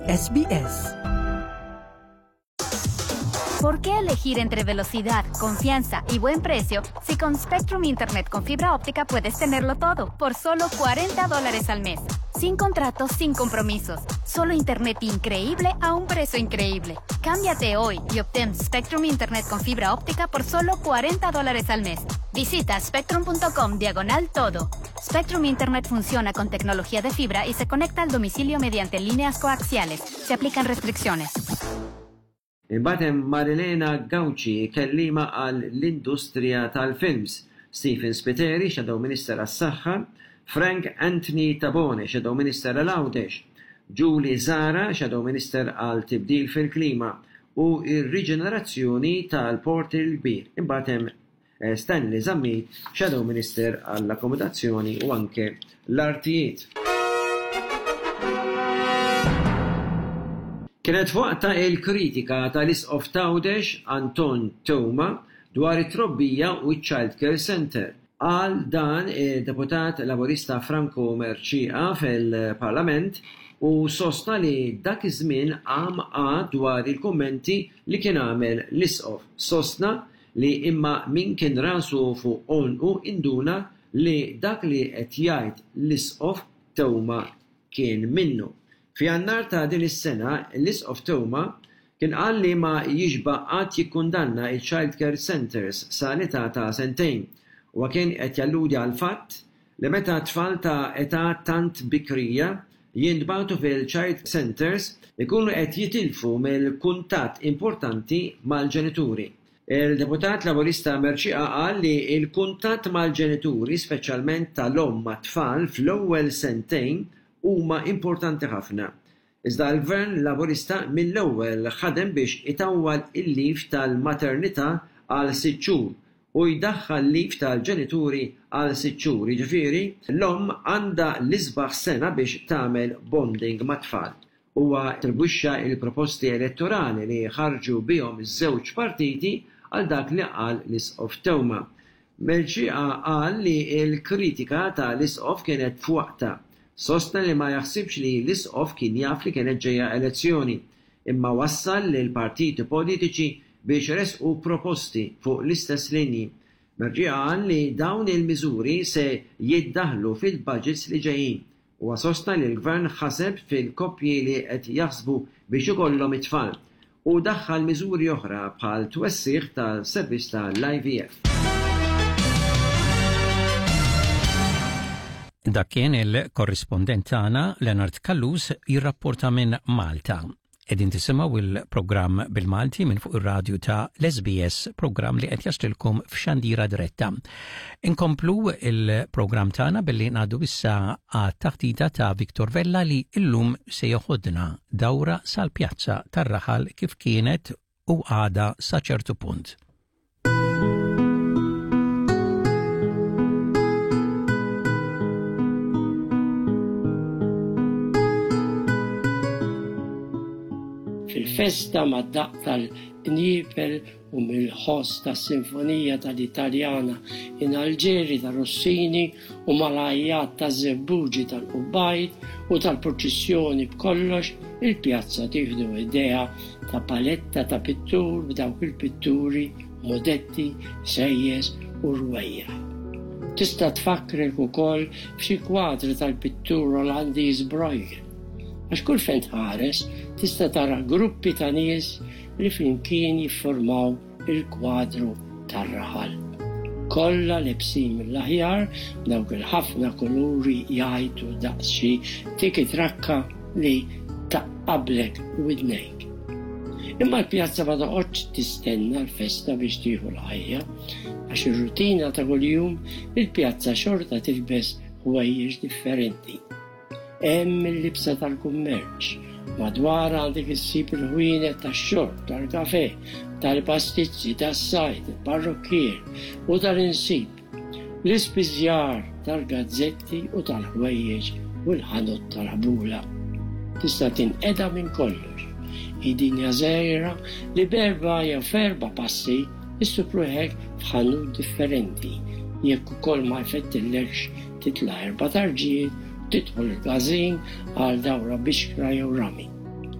SBS. ¿Por qué elegir entre velocidad, confianza y buen precio si con Spectrum Internet con fibra óptica puedes tenerlo todo por solo 40 dólares al mes? Sin contratos, sin compromisos. Solo internet increíble a un precio increíble. Cámbiate hoy y obtén Spectrum Internet con fibra óptica por solo 40 dólares al mes. Visita spectrum.com diagonal todo. Spectrum Internet funciona con tecnología de fibra y se conecta al domicilio mediante líneas coaxiales. Se aplican restricciones. Imbagħad hemm Marilena Gauci, kelliema għal l-industrija tal-films, Stephen Spiteri, Shadow Minister għas-Saħħa, Frank Anthony Tabone, Shadow Minister għal Għawdex, Julie Zahra, Shadow Minister għal Tibdil fil-Klima u r-Riġenerazzjoni tal-Port il-Kbir. Imbagħad hemm Stanley Zammit, Shadow Minister għall-Akkomodazzjoni u anke l-Artijiet. Kienet f'waqtha il-kritika tal-Isqof t'Għawdex Anton Teuma dwar it-trobbija u ċ-Child Care Centre. Qal dan id-Deputat Laburista Franco Mercieca fil-Parlament u sostna li dak iż-żmien qam qagħad dwar il-kummenti li kien għamel l-Isqof. Sostna li imma min kien rasu fuq għonqu induna li dak li qed jgħid l-Isqof Teuma kien minnu. F'Jannar ta' din is-sena l-Isqof Teuma kien qal li ma jixba' qatt jikkundanna l-child care centres sa l-età ta' sentejn. Huwa kien qed jalludi għall-fatt li meta tfal ta' età tant bikrija jintbagħtu fil-child centres ikunu qed jitilfu mill-kuntatt importanti mal-ġenituri. Il-Deputat Laburista Mercieca qal li l-kuntatt mal-ġenituri, speċjalment tal-omm mat-tfal fl-ewwel sentejn huma importanti ħafna. Iżda l-Gvern Laburista mill-ewwel ħadem biex itawwal il-leave tal-maternità għal sitt xhur u jdaħħal leave tal-ġenituri għal sitt xhur, jiġifieri l-omm għandha l-isbaħ sena biex tagħmel bonding mat-tfal. Huwa attribwixxa l-proposti elettorali li ħarġu bihom iż-żewġ partiti għal dak li qal l-Isqof Teuma. Mercieca qal li l-kritika ta' l-Isqof kienet f'waqtha. Sostna li ma jaħsibx li l-Isqof kien jaf li kienet ġejja elezzjoni, imma wassal lill-partiti politiċi biex ressqu proposti fuq l-istess linji. Mercieca qal li dawn il-miżuri se jiddaħħlu fil-budgets li ġejjin. Huwa sostna li l-Gvern ħaseb fil-koppji li qed jaħsbu biex ikollhom it-tfal u daħħal miżuri oħra bħal twessigħ ta' servizz tal-IVF. Dak kien il-korrispondent tagħna Leonard Callus jirrapporta minn Malta. Qegħdin tisimgħu il-programm bil-Malti minn fuq ir-radju ta' l-SBS, programm li qed jaslilkom f'xandira diretta. Inkomplu il-programm tagħna billi ngħaddu issa għat-taħdita ta' Victor Vella li illum se joħodna dawra sal-pjazza tar-raħal kif kienet u għadha sa ċertu punt. Fil-festa mad-daqq tal-qniepel u mill-ħoss tas-sinfonija tal-Italjana in Alġeri ta' Rossini u mal-għajjat taż-żebbuġi tal-qubbajt u tal-purċissjoni b'kollox il-pjazza tieħdu idea ta' paletta ta' pittur b'dawk il-pitturi, modetti, sejjes u rwejjaħ. Tista' tfakkrek ukoll f'xi kwadri tal-pittur Olandiż Bruegel. Għax kull fejn tħares tista' tara gruppi ta' nies li flimkien jiffurmaw il-kwadru tar-raħal. Kollha lebsin mill-aħjar, b'dawk il-ħafna kuluri jgħajtu daqs xi tiki-trakka li taqqablek widnejk. Imma l-pjazza ma toqgħodx tistenna l-festa biex tieħu l-ħajja, għax ir-rutina ta' kuljum il-pjazza xorta tilbes ħwejjeġ differenti. Hemm il-libsa tal-kummerċ. Madwarha għandek issib il-ħwienet tax-xorb, tal-kafè, tal-pastizzi, tas-sajd, il-parrukkier u tal-insib, l-ispiżjar tal-gazzetti u tal-ħwejjeġ u l-ħanut tal-ħbula. Tista' tinqeda minn kollox. Hi dinja żgħira li b'erba' jew f'erba' passi issib ruħek f'ħanut differenti jekk ukoll ma jfettillekx Titla' erba' tarġijiet u tidħol il-każin għal dawra bixkra jew rami.